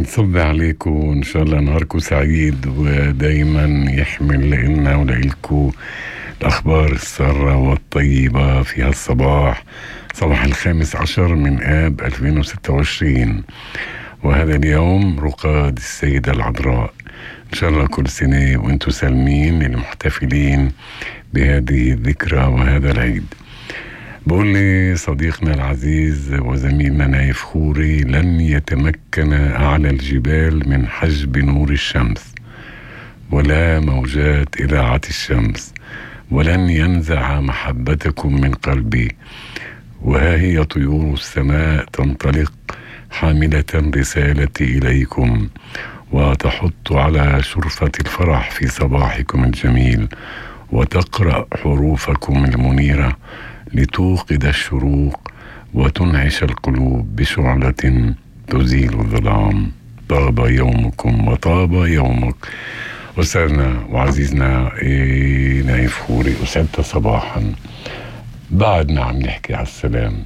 نصب عليكم إن شاء الله نهاركم سعيد ودايما يحمل لنا ولإلكم الأخبار السارة والطيبة في هالصباح، صباح 15 من آب 2026. وهذا اليوم رقاد السيدة العذراء. إن شاء الله كل سنة وإنتم سالمين للمحتفلين بهذه الذكرى وهذا العيد. بقول لي صديقنا العزيز وزميلنا نايف خوري: لن يتمكن أعلى الجبال من حجب نور الشمس، ولا موجات إذاعة الشمس، ولن ينزع محبتكم من قلبي. وها هي طيور السماء تنطلق حاملة رسالتي إليكم، وتحط على شرفة الفرح في صباحكم الجميل، وتقرأ حروفكم المنيرة لتوقد الشروق وتنعش القلوب بشعلة تزيل الظلام. طاب يومكم وطاب يومك. أستاذنا وعزيزنا نايف خوري، أسعدت صباحا. بعدنا عم نحكي على السلام.